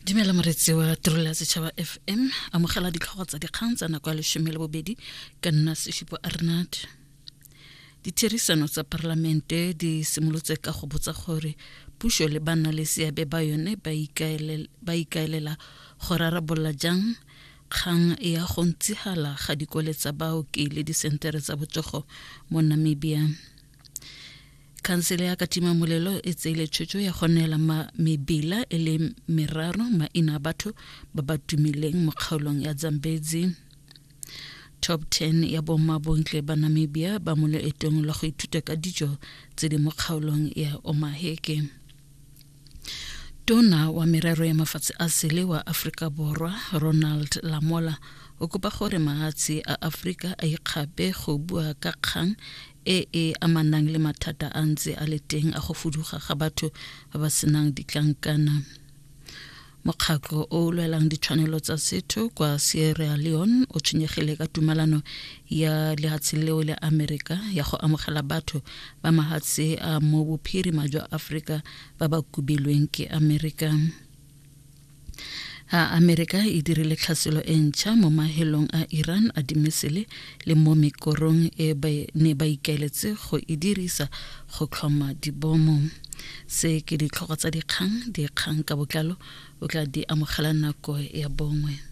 Dumela moretsi wa tirelo ya setšhaba FM, amogela ditlhogo tsa dikgang tsa nako ya leshome le bobedi ka nna Seshupo Arnard. Ditherisano tsa parlamente di simolotse ka go botsa gore puso le ba nna le seabe ba yone ba ikaelela go rarabolola jang kgang ya go ntsihala ga dikole tsa baoki le disentere tsa botsogo mo Namibia. Khansele ya Katima Molelo e tseile tshwetso ya go neela mebila e le meraro maina a batho ba ba tumileng mo kgaolong ya Zambezi. Top 10 ya bomma bontle ba Namibia ba mo loetong lwa go ithuta ka dijo tse di mo kgaolong ya Omaheke. Tona wa merero ya mafatshe a sele wa Aforika Borwa Ronald Lamola o kopa gore mahatshe a Aforika a ikgape go bua ka kgang e e amanang le mathata a ntse a le teng a go fuduga ga batho ba ba senang ditlankana. Mokgatlho o o lwelang ditshwanelo tsa setho kwa Sierra Leone o tshwenyegile ka tumalano ya lehatshe leo le Amerika ya go amogela batho ba mahatshe a mo bophirima jwa Afrika ba ba kubilweng ke Amerika. A Amerika e dirile tlhaselo e ntšha mo mahelong a Iran a dimesele le mo mekorong e ba ne ba ikaeletse go e dirisa go tlhoma dibomo. Se ke ditlhogo tsa dikgang, dikgang ka botlalo o tla di amogela nako ya bongwe.